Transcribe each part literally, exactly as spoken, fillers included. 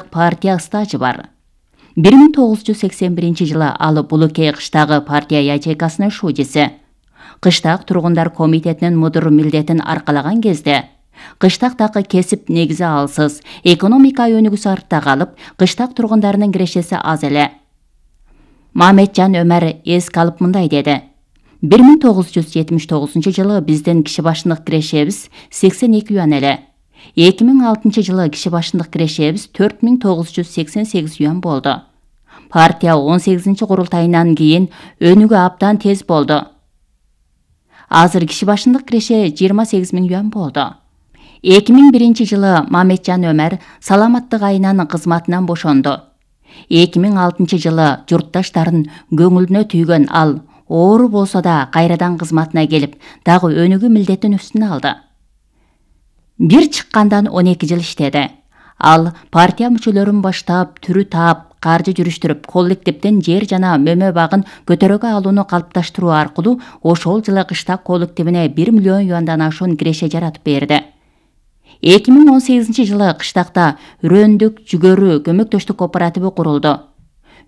партия стажы бар. бир миң тогуз жүз сексен биринчи жылы ал Булыкей кыштагы партия ячейкасынын шудиси. Кыштак тургундар комитетинин мудур милдетин аркалаган кезде кыштактагы кесип негизи алсыз, экономика өнүгүүсү артта калып, кыштак тургундарынын кирешеси аз эле. Мамеджан Өмөр эске алып мындай деди: бир миң тогуз жүз жетимиш тогузунчу жылы биздин киши башындык кирешебиз сексен эки юан эле. эки миң алтынчы жылы киши башындык кирешебиз төрт миң тогуз жүз сексен сегиз юан болду. Партия он сегизинчи курултайынан кийин өнүгүү абдан тез болду. Азыр киши башындык киреше жыйырма сегиз миң юан болду. эки миң биринчи жылы Мамеджан Өмөр саламаттык айынан кызматынан бошонду. эки миң алтынчы жылы журтташтарын көңүлүнө түйгөн ал оору болсо да кайрадан кызматына келип, дагы өнүгүү милдетин үстүнө алды. Бир чыккандан он эки жыл иштеди. Ал партия мүчөлөрүн баштап, түрү таап, каржы жүрүштүрүп, коллективден жер жана мөмө багын көтөрөгө алууну калыпташтыруу аркылуу ошол жылы кыштак коллективине бир миллион юандан ашуун киреше жаратып берди. эки миң он сегизинчи жылы кыштакта Үрөндүк жүгөрү көмөктөштүк кооперативи курулду.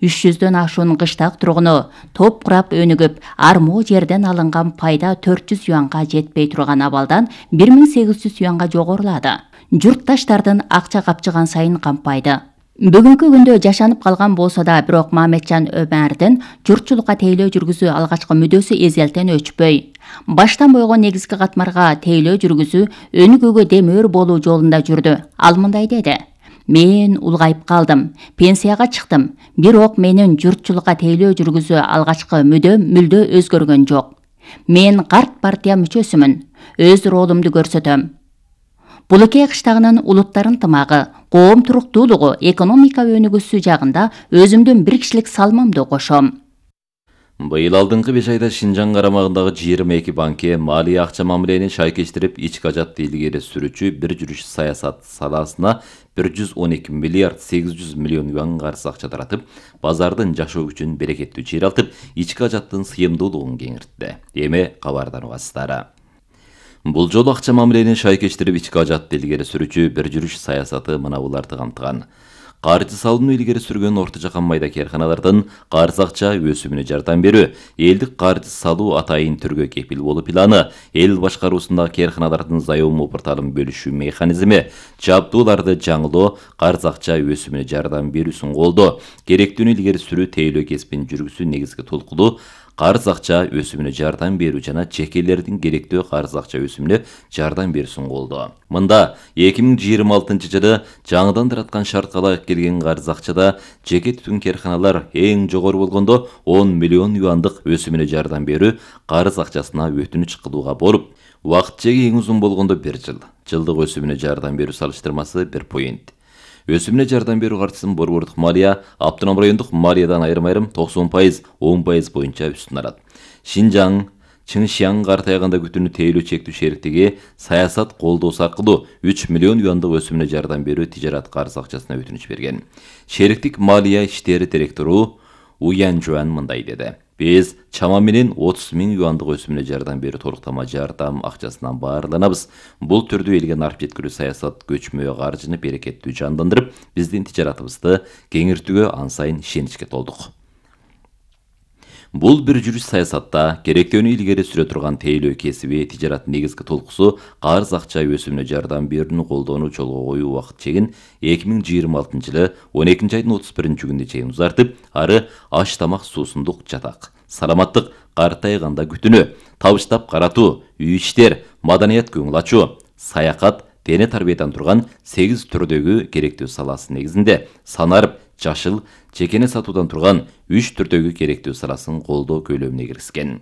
үч жүздөн ашуун кыштак тургуну топ курап өнүгүп, армоо жерден алынган пайда төрт жүз юанга жетпей турган абалдан бир миң сегиз жүз юанга жогорулады. Журтташтардын акча капчыган сайын кампайды. Бүгүнкү күндө жашанып калган болсо да, бирок Мамеджан Өмөрдүн журтчулукка тейлөө жүргүзүү алгачкы мүдөөсү эзелтен өчпөй. Баштан бойгон негизги катмарга тейлөө жүргүзүү өнүгүүгө демөөр болуу жолунда жүрдү. Ал мындай деди: мен улгайып калдым, пенсияга чыктым, бирок менин журтчулукка тейлөө жүргүзүү алгачкы мүдөм мүлдө өзгөргөн жок. Мен карт партия мүчөсүмүн, өз ролумду көрсөтөм. Булыкей кыштагынын улуттар ынтымагы, коом туруктуулугу, экономика өнүгүүсү жагында өзүмдүн бир кишилик салмамды кошом. Быйыл алдыңкы беш айда Шинжаң карамагындагы жыйырма эки банке малия акча мамилени шайкештирип, ички ажатты илгери сүрүүчү бир жүрүш саясат саласына бир жүз он эки миллиард сегиз жүз миллион юан карыз акча таратып, базардын жашоо күчүн берекеттүү чыйралтып, ички ажаттын сыйымдуулугун кеңиртти. Эми кабардан угасыздар. Бул жолу акча мамилени шайкештирип, ички ажатты илгери сүрүүчү бир жүрүш саясаты мына буларды камтыган. Каржы салууну илгери сүргөн орто жакан майда карканалардын карыз акча өсүмүнө жардам берүү, элдик каржы салуу атайын түргө кепил болуу планы, эл башкаруусундагы карканалардын заем порталын бөлүшүү механизми, жабдууларды жаңылоо, карыз акча өсүмүнө жардам берүүсүн колдоо, керектүүнү илгери сүрүү, тейлөө кесибин жүргүзүү негизги толкулуу, карыз акча өсүмүнө жардам берүү жана жекелердин керектүү карыз акча өсүмүнө жардам берүүсүн колдоо. Мында эки миң жыйырма алтынчы жылы жаңыдан тараткан шартка ылайык келген карыз акчада жеке түтүн карканалар эң жогору болгондо он миллион юандык өсүмүнө жардам берүү карыз акчасына өтүнүч кылууга болуп, убакыт чеги эң узун болгондо бир жыл. Жылдык өсүмүнө жардам берүү салыштырмасы бир поинт. Өсүмүнө жардам берүү каржысын борбордук малия, автоном райондук малиядан айрым-айрым токсон пайыз, он пайыз боюнча үстүн алат. Шинжаң, Чыңшияң картайганда күтүүнү тейлөө чектүү шериктиги саясат колдоосу аркылуу үч миллион юандык өсүмүнө жардам берүү тижарат карыз акчасына өтүнүч берген. Шериктик малия иштери директору Уян Жуан мындай деди: Биз чама менен отуз миң юандык өсүмүнө жардам берүү толуктама жардам акчасынан баарланабыз. Бул түрдүү элге нарп жеткирүү саясат көчмө каржыны берекеттүү жандандырып, биздин тижаратыбызды кеңиртүүгө ан сайын ишеничке толдук. Бул бир жүрүш саясатта керектүүнү илгери сүрө турган тейлөө кесиби тижарат негизги толкусу карыз акча өсүмүнө жардам берүүнү колдоону жолго коюу убакыт чегин эки миң жыйырма алтынчы жылы он экинчи айдын отуз биринчи күнүнө чейин узартып, ары аш тамак суусундук жатак, саламаттык, картайганда күтүүнү, табыштап каратуу, үй иштер, маданият көңүл ачуу, саякат, дене тарбиядан турган сегиз түрдөгү керектүү саласы негизинде санарып, жашыл, жекене сатуудан турган үч түрдөгү керектүү саласын колдоо көлөмүнө киргизген.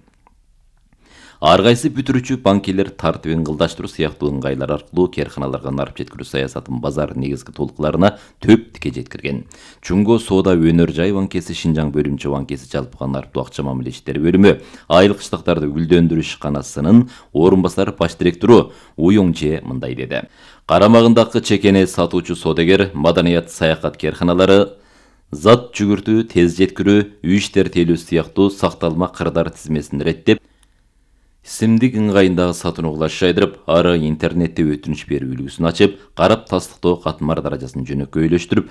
Ар кайсы бүтүрүүчү банкелер тартибин кылдаштыруу сыяктуу ыңгайлар аркылуу карканаларга нарп жеткирүү саясатын базар негизги толкуларына төп тике жеткирген. Чуңго соода өнөр жай банкеси, Шинжаң бөлүмчө банкеси жалпыга нарптуу акча мамиле иштери бөлүмү, айыл кыштактарды гүлдөндүрүү ишканасынын орун басар баш директору Уйоңже мындай деди: Карамагындагы чекене сатуучу соодагер, маданият, саякат карканалары зат жүгүртүү, тез жеткирүү, үй иштер тейлөө сыяктуу сакталма кырдар тизмесин реттеп, Симдик ыңгайындагы сатууну кулаш жайдырып, ары интернетте өтүнүч берүү үлгүсүн ачып, карап тастыктоо катмар даражасын жөнөкөйлөштүрүп,